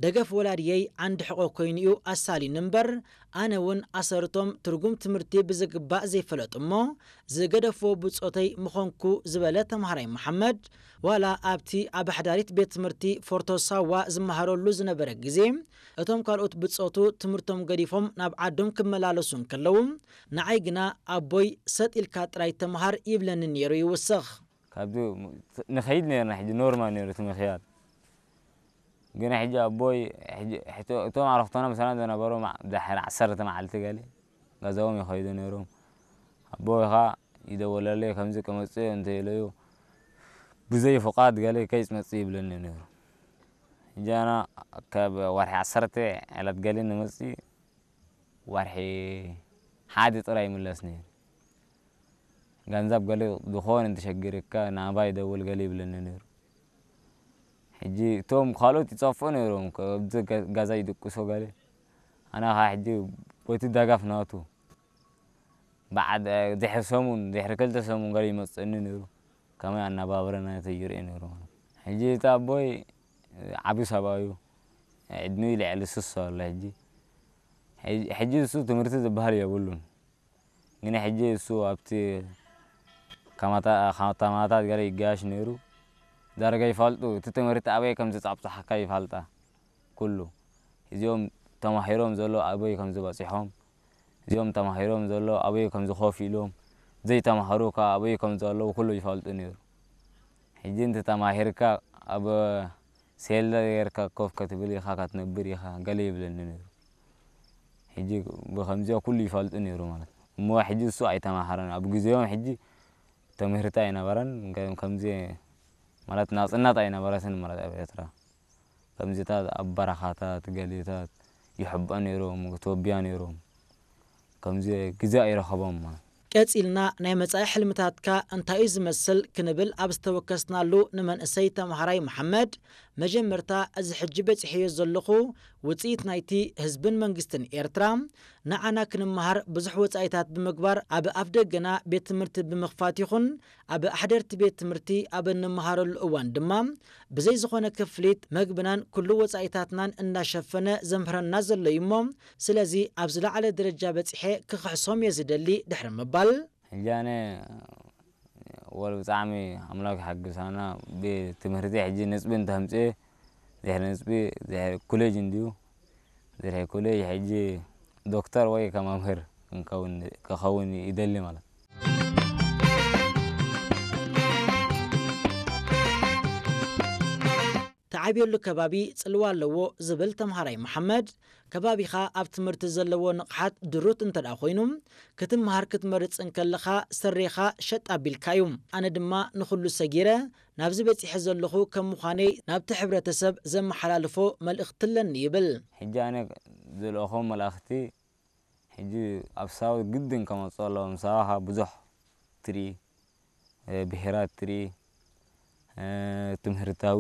ደገፍ ወላድየይ ዓንዲ ሕቖ ኮይኑ'ዩ ኣሳልዩኒ እምበር፣ ኣነ እውን ኣሰርቶም ትርጉም ትምህርቲ ብዝግባእ ዘይፈለጡ እሞ፣ ዝገደፍዎ ብጾተይ ምኾንኩ ዝበለ ተምሃራይ መሓመድ፣ ዋላ ኣብቲ ኣብ ኣሕዳሪት ቤት ትምህርቲ ፎርቶ ሳዋ ዝመሃረሉ ዝነበረ ግዜ፣ እቶም ካልኦት ብጾቱ ትምህርቶም ገዲፎም ናብ ዓዶም ክመላለሱ እንከለዉ፣ ንዓይ ግና ኣቦይ ሰጥ ኢልካ ጥራይ ተምሃር ይብለኒ ነይሩ ይውስኽ። ካብዚ ንኸይድ ነርና፣ ሕጂ ኖርማል ነይሩ እቲ ምኽያድ። ግን ሕጂ ኣቦይ፣ ሕጂ፣ ሕቶ-፣ እቶም ኣረኽቶና ምሳና ዝነበሩ ማ-፣ ድሕሪ ዓሰርተ መዓልቲ ገለ ገዛኦም ይኸይዱ ነይሮም። ኣቦይ ኸኣ ይደወለለይ፣ ከምዚ ክመጽእ እንተ ኢለዮ፣ ብዘይ ፍቓድ ገለ ከይትመጽእ ይብለኒ ነይሩ። ሕጂ ኣና ካብ ወርሒ ዓሰርተ ዕለት ገለ ንመጽእ፣ ወርሒ ሓደ ጥራይ ይምለስ ነይሩ። ገንዘብ ገለ ዝኾነ እንተሸጊርካ ናባይ ደውል ገለ ይብለኒ ነይሩ። ሕጂ እቶም ካልኦት ይጸፍኡ ነይሮም፣ ከብዚ ገ-፣ ገዛ ይድቅሱ ገለ። ኣነ ኸኣ ሕጂ በቲ ደገፍ ናቱ፣ በዓድ-፣ ድሕሪ ሰሙን፣ ድሕሪ ክልተ ሰሙን ገለ ይመጽእኒ ነይሩ። ከመይ ኣነባብራ ናተይ ይርኢ ነይሩ ማለት። ሕጂ እቲ ኣቦይ ዓቢ ሰብኣይ እዩ። ዕድሚኡ ልዕሊ ስሳ ኣሎ ሕጂ። ሕጂ፣ ሕጂ እሱ ትምህርቲ ዝበሃል የብሉን። ግን ሕጂ እሱ ኣብቲ ከማታ-፣ ከተማታት ገለ ይጋየሽ ነይሩ። ዳርጋ ይፋልጡ፣ እቲ ትምህርቲ ኣበይ ከም ዝጻብጻሓካ ይፋልጣ። ኩሉ። እዚኦም ተማሂሮም ዘሎ ኣበይ ከም ዝበጺሖም፣ እዚኦም ተማሂሮም ዘሎ ኣበይ ከም ዝኾፍ ኢሎም፣ ዘይተማሃሩ ከኣ ኣበይ ከም ዘለዉ ኩሉ ይፋልጡ ነይሩ። ሕጂ እንተ ተማሂርካ ኣብ ሴል ጌርካ ኮፍ ከትብል ኢኻ፣ ከትነብር ኢኻ፣ ገለ ይብለኒ ነይሩ። ሕጂ ብኸምዚኣ ኩሉ ይፋልጡ ነይሩ ማለት። እሞ ሕጂ እሱ ኣይተማሃረን። ኣብ ግዜኦም ሕጂ ትምህርቲ ኣይነበረን። ከ-፣ ከምዚ ማለት ናጽነት ኣይነበረትን ማለት ኣብ ኤርትራ። ከምዚታት ኣብ በረኻታት፣ ገሌታት ይሕበ ነይሮም፣ ተወቢያ ነይሮም። ከምዚ ግዜ ኣይረኸቦም ማለት። ቀጺልና ናይ መጻኢ ሕልምታትካ እንታይ እዩ ዝመስል ክንብል ኣብ ዝተወከስናሉ ንመንእሰይ ተምሃራይ መሓመድ፣ መጀመርታ እዚ ሕጂ በጺሐዮ ዘለኹ ውጽኢት ናይቲ ህዝብን መንግስትን ኤርትራ፣ ንዓና ክንመሃር ብዙሕ ወጻኢታት ብምግባር ኣብ ኣፍደገና ቤት ትምህርቲ ብምኽፋት ይኹን ኣብ ኣሕደርቲ ቤት ትምህርቲ ኣብ እንመሃረሉ እዋን ድማ ብዘይ ዝኾነ ክፍሊት መግብናን ኩሉ ወጻኢታትናን እናሸፈነ ዘምህረና ዘሎ እዩ እሞ፣ ስለዚ ኣብ ዝለዓለ ደረጃ በጺሐ ክኽሕሶም እየ ዝደሊ ድሕሪ ምባል። ሕጂ ኣነ ወል ብጣዕሚ ኣምላኽ ይሓግዝ። ኣና ብትምህርቲ ሕጂ ነጥቢ እንተምጽኤ፣ ድሕሪ ነጥቢ፣ ድሕሪ ኮሌጅ እንድዩ። ድሕሪ ኮሌጅ ሕጂ ዶክተር ወይ ከመምህር ክንከውን፣ ክኸውን ይደሊ ማለት። ተዓብየሉ ከባቢ ጽልዋ ኣለዎ ዝብል ተምሃራይ መሓመድ፣ ከባቢኻ ኣብ ትምህርቲ ዘለዎ ንቕሓት ድሩት እንተ ደኣ ኮይኑ፣ ክትምሃር ክትመርጽ እንከለኻ ስሬኻ ሸጥ ኣቢልካ እዩ። ኣነ ድማ ንኹሉ ሰጊረ ናብዚ በጺሐ ዘለኹ ከም ምዃነይ ናብቲ ሕብረተሰብ ዘመሓላልፎ መልእኽቲ ኣለኒ ይብል። ሕጂ ኣነ ዝልእኾ መልእኽቲ፣ ሕጂ ኣብ ሳውት ግድን ከመጽኦ ኣለዎም። ሳዋ ኸኣ ብዙሕ ትርኢ፣ እ፣ ብሄራት ትርኢ፣ እ፣ ትምህርታዊ